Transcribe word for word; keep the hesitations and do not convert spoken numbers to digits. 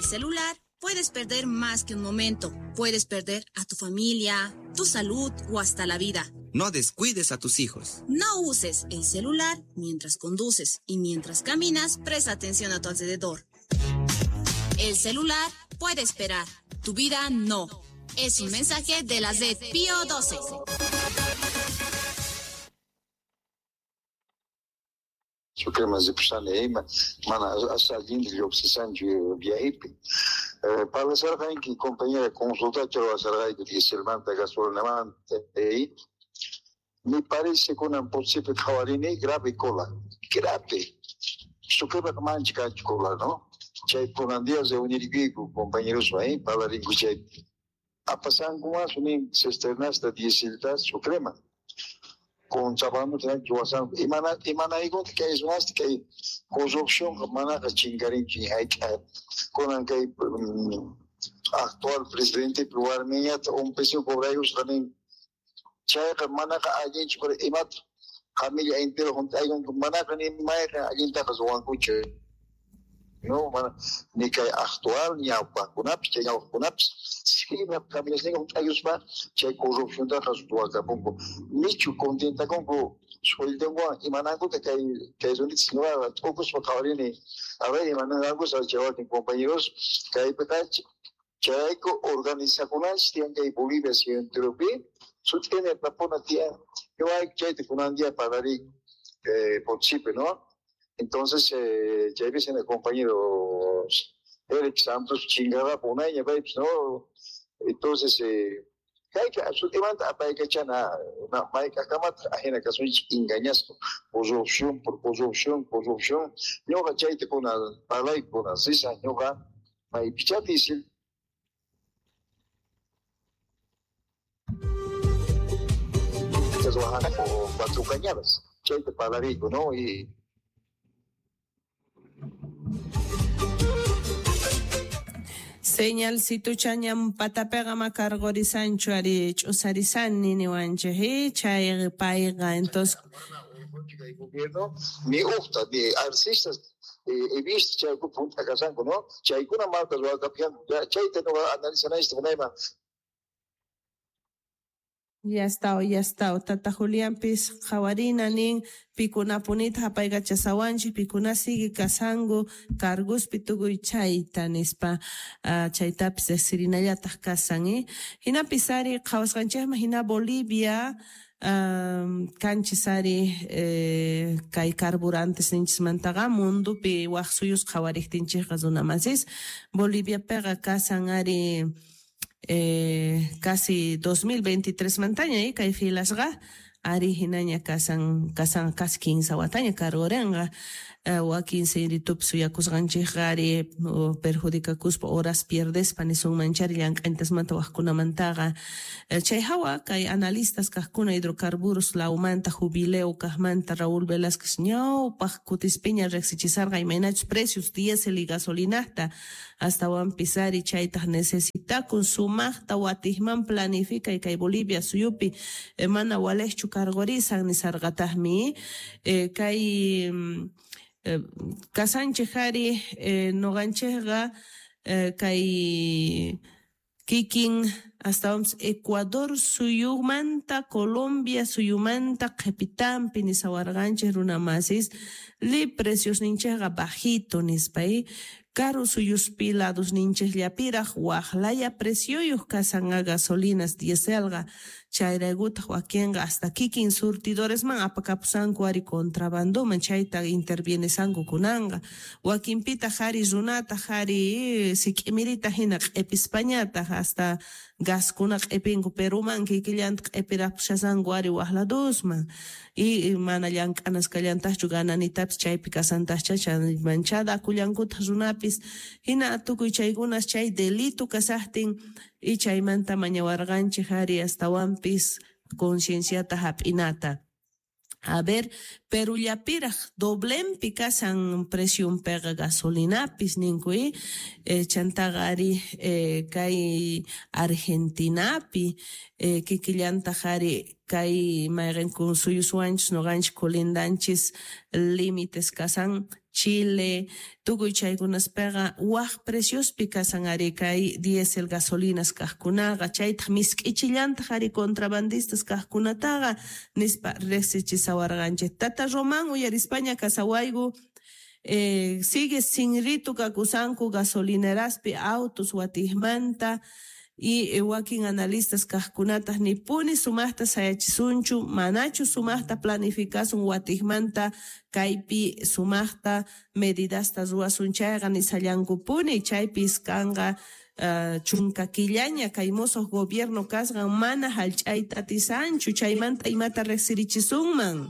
celular, puedes perder más que un momento. Puedes perder a tu familia, tu salud o hasta la vida. No descuides a tus hijos. No uses el celular mientras conduces y mientras caminas, presta atención a tu alrededor. El celular puede esperar, tu vida no. Es un mensaje de la Z Pío doce. Compañera, consulta me parece que una posible grave cola, grave. Su que mancha cola, ¿no? Chay kunan días de unir compañeros ahí para rincuchay. A pasar con más un cisternasta dieselta su crema. Con chabando tranquilo y mana y mana y que es más que corrupción mana chingarin hay con que actual presidente Armenia un peso cobrayos también. Chayqa manaqa allinchu pero imat familia entero juntaykunku manaqa ni mayqa allintaqa ruwankuchu no mana ni kay actual ñawpaqkunapis chay ñawpaqkunapis sima familiasninqa junt'ayuspa chay corrupciontaqa ruwakapunku nichu contentakunku sueldonwan imanankuta kay kay runitas nuqa t'ukuspa qhawarini a ver imanankus chay wakin compañeros kaypiqa chayku organizakunanchis tiyan kay Bolivia suyuntirupi sut'ini papuna tía, yo hay que kunan día para ir eh, por ¿no? Entonces, eh, ya dicen el compañero Eric Santos chingada punaña, ¿no? Entonces, eh, hay que absolutamente apaykachana, maykakamata ajena kasunchik engañaspa, corrupción por corrupción, corrupción. Ñuqa chayta kuna parlaykuna, sisa ñuqa maypichati cuatro cañadas, chayta parlarico, ¿no? Y Señal situchañam patapega macargorisancho ari ch'usarisani niwanchej chay payqa entonces el gobierno ni gusta ni artistas he visto chay punta casanco, ¿no? Chaykuna marcas chayta no analizan esto nayma. Ya está, ya está. Tata Julianpis qhawarina nin pikunapunita hapaykachasawanchik pikuna sigue kasanku cargospi tukuy chayta nispa uh, chaytapis riqsirinallataq kasan eh. Hinapis ari qhawasqanchikman hina Bolivia um, kanchis ari eh, kay carburantes ninchismantaqa mundupi waq suyus qhawariqtinchikqa runamasis Boliviapiqa kasan ari Eh, casi dos mil veintitrés mantaña eh, kay filasqa ari hinaña kasan kasan casi quince wataña cargorenqa eh, wakin señoritup suyakusqanchikqa ari perjudikakuspa horas pierdespa nisunmanchari llank'antasmanta waqkunamantaqa eh, chay hawa kay analistas kaqkuna hidrocarburos lawmanta jubileo kaqmanta Raúl Velázquez ñawpaq kutispiña riqsichisarqa imaynachus precios diésel y gasolinasta astawanpis ari chaytaq necesitakun sumaqta watijman planifica y kay Bolivia suyupi eh, mana walejchu cargorizan nisarqataqmi eh, kay eh, kasanchik ari eh, noqanchikqa eh, kay kikin astawanpis Ecuador suyumanta Colombia suyumanta qhipitanpi nisawarqanchik runamasis li precios ninchikqa bajito nispa eh. Karu suyuspi lados ninchikllapiraq waqlaya precioyuq kasanqa gasolinas dieselqa chayraykutaq wakinqa hasta kikin surtidoresman apakapusanku ari contrabandoman chayta intervienesanku kunanqa wakinpitaq ari runataq ari sik'imirita hina q'ipispañataq hasta gaskuna q'ipinku Peruman kikillanta q'ipirapushasanku ari waqladusman y mana llank'anasqallantaqchu gananitapis chaypi kasantaqcha chaymanchada akullankutaq runapis hina tukuy chaykunas chay delito kasaqtin y chaymanta mañawarqanchik ari astawanpis concienciata hap'inata. A ver, Perullapiraq doblenpi kasan preciunpiqa gasolinapis ninku eh, chantaqa ari eh, kay Argentinapi eh, kikillantaq ari kay mayqinku suyuswanchis nuqanchik colindanchis límites kasan Chile, tukuy chaykunaspeqa waj preciospi kasan ari kay diésel gasolinas kajkunaqa, chaytaj misk'ichillantaj ari contrabandistas kajkunataqa nispa riqsichisawarqanchik. Tata Román uyarispaña kasawayku, eh, sigue sinritu kakusanku gasolineraspi autos watijmanta y eh, wakin analistas kajkunataj nipuni sumajta sayachisunchu, manachu sumajta planificasun watijmanta kaypi sumajta medidasta ruwasun chayqa nisallankupuni, chaypis kanqa uh, chunka killaña kay mosoq gobierno kasqan mana hallch'ayta atisanchu, chaymanta imata riqsirichisunman.